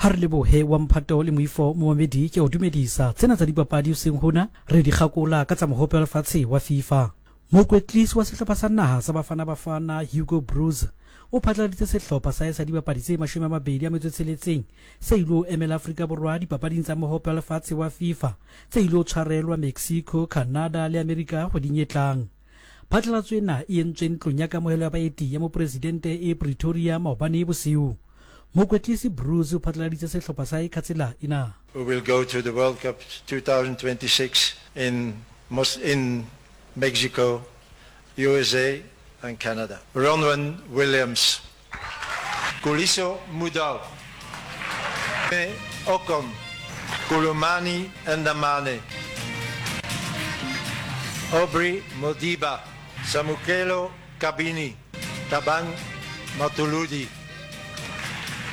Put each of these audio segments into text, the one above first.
Ha re lebohe wa mphato le moifo momamedi ke a o dumedisa. Tsena tsa dipapadi hoseng hona re di kgakola ka tsa mohope wa lefatshe wa FIFA. Mokwetlisi wa sehlopha sa naha sa Bafana Bafana Hugo Broos o phatlaladitse sehlopha sa hae sa dibapadi tse 26 se ilo emela Afrika Borwa dipapading tsa mohope wa lefatshe wa FIFA tse ilo tshwarelwa Mexico, Canada le Amerika kgweding e tlang. Phatlalatso ena e entswe ntlong ya kamohelo ya baeti ya mopresidente e Pretoria maobane bosiu. Mokwetlisi Broos o phatlaladitse sehlopha sa hae ka tsela ena. We will go to the World Cup 2026 in in Mexico, USA and Canada. Ronwen Williams, Khuliso Mudau, Okon, Khulumani Ndamane, Aubrey Modiba, Samukelo Kabini, Thabang Matuludi,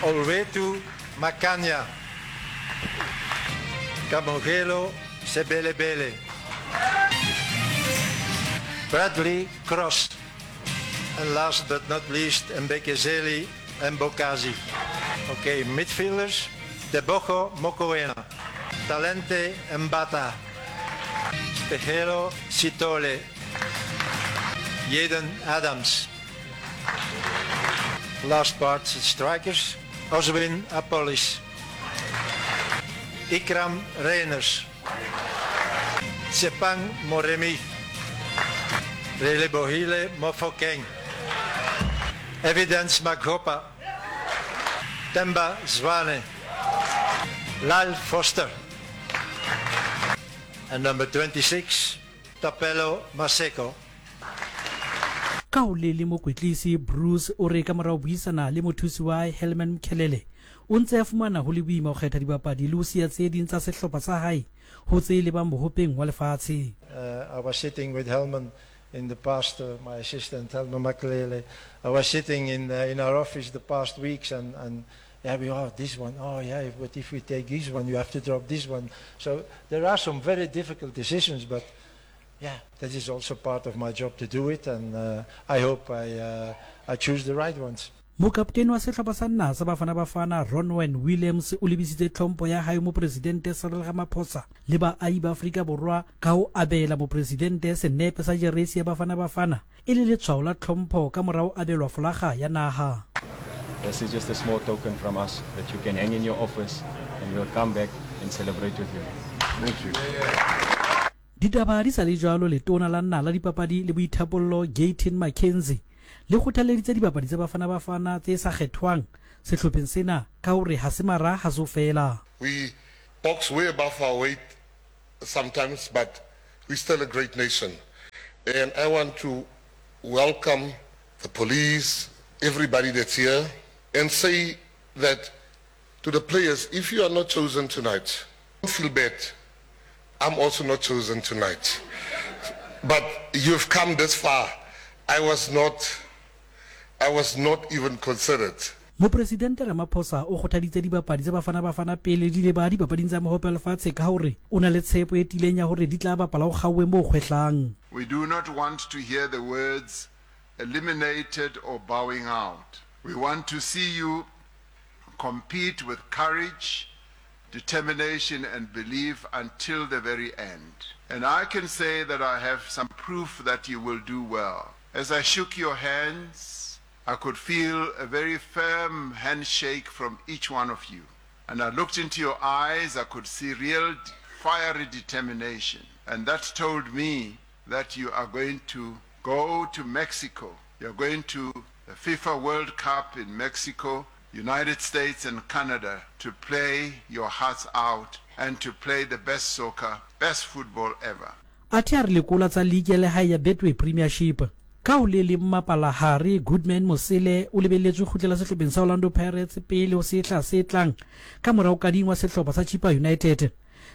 Olwethu Makhanya, Kamogelo Sebelebele, Bradley Cross, and last but not least, Mbekezeli Mbokazi. Okay, midfielders, Teboho Mokoena, Thalente Mbatha, Sphephelo Sithole, Jayden Adams. Last part, strikers, Oswin Appollis, Iqraam Rayners, Tshepang Moremi, Relebohile Mofokeng, Evidence Makgopa, Themba Zwane, Lyle Foster, and number 26, Thapelo Maseko. Ka ho le le mokwetlisi Broos o re ka mora ho buisana le mothusi wa hae Helman Mkhelele, o ntse a fumana ho le boima ho kgetha dibapadi le ho siya tse ding tsa sehlopha sa hae ho tse lebang bohopeng wa lefatshe. I was sitting with Helman in the past, my assistant Helman Mkhalele. I was sitting in in our office the past weeks and and yeah, we oh this one, oh yeah, but if we take this one, you have to drop this one. So there are some very difficult decisions, but yeah, that is also part of my job to do it, and uh, I hope I, uh, I choose the right ones. Mokaptene wa sehlopha sa naha sa Bafana Bafana Ronwen Williams o lebisitse tlhompho ya hae ho Mopresidente Cyril Ramaphosa le baahi ba Afrika Borwa ka ho abela Mopresidente senepe sa jeresi ya Bafana Bafana e le letshwao la tlhompho ka mora ho abelwa folaga ya naha. This is just a small token from us that you can hang in your office and we'll come back and celebrate with you. Thank you. Ditaba di sa le jwalo, Letona la Naha la Dipapadi le Boithapollo Gayton McKenzie le kgothalleditse dibapadi tsa Bafana Bafana tse sa kgethwang sehlopheng sena ka hore ha se mara ha so fela. We box way above our weight sometimes but we still a great nation and I want to welcome the police, everybody that's here and say that to the players if you are not chosen tonight don't feel bad I'm also not chosen tonight but you've come this far I was not I was not even considered. Mopresidente Ramaphosa o kgothaditse dibapadi tsa Bafana Bafana pele di leba dipapading tsa Mohope wa Lefatshe ka hore o na le tshepo e tiileng ya hore di tla bapala ho kgaowe moo kgwehlang. We do not want to hear the words eliminated or bowing out. We want to see you compete with courage, determination and belief until the very end. And I can say that I have some proof that you will do well. As I shook your hands, I could feel a very firm handshake from each one of you. And I looked into your eyes, I could see real fiery determination. And that told me that you are going to go to Mexico. You're going to the FIFA World Cup in Mexico, United States and Canada to play your hearts out and to play the best soccer, best football ever. Athe a re lekola tsa liki ya lehae ya Betway Premiership. Ka ho le leng mapalahare Goodman Mosele o lebelletswe ho kgutlela sehlopheng sa Orlando Pirates pele ho sehla se tlang ka mora ho kadingwa sehlopha sa Chippa United.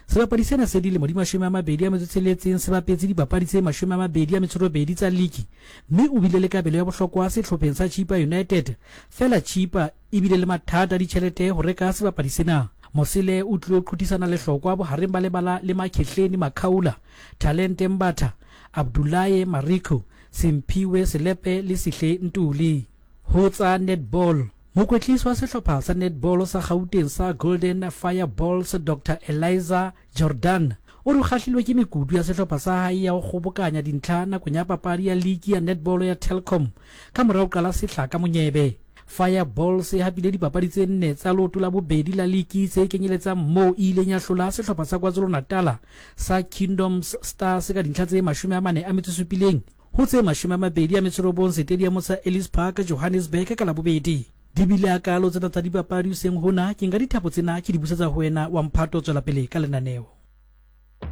Sebapadi sena se dilemo di 26 se bapetse dipapadi tse 28 tsa liki mme o bile le kabelo ya bohlokwa sehlopheng sa Chippa United. Feela Chippa e bile le mathata a ditjhelete ho reka sebapadi sena. Mosele o tlilo qhuthisana lehlokwa bohareng ba lebala le Makhehleni Makhaula, Thalente Mbatha, Abdoulaye Mariko, Simphiwe Selepe le Sihle Ntuli. Ho tsa netball. Mokwetlisi wa sehlopha sa netball sa Gauteng sa Golden Fireballs Doctor Eliza Jordaan o re o kgahlilwe ke mekutu ya sehlopha sa hae ya ho kgobokanya dintlha nakong ya papadi ya liki ya netball ya Telkom ka mora ho qala sehla ka monyebe. Fireballs e hapile dipapadi tse nne tsa leoto la bobedi la liki tse kenyeletsang moo e ileng ya hlola sehlopha sa KwaZulu-Natala sa Kingdoms Stars ka dintlha tse 47 ho tse 29 setediamo sa Ellis Park, Johannesburg ka Labobedi. Di bile hakaalo tsena tsa dipapadi hoseng hona, ke nka dithapo tsena ke di busetsa ho wena wa mphato tswela pele ka lenaneo.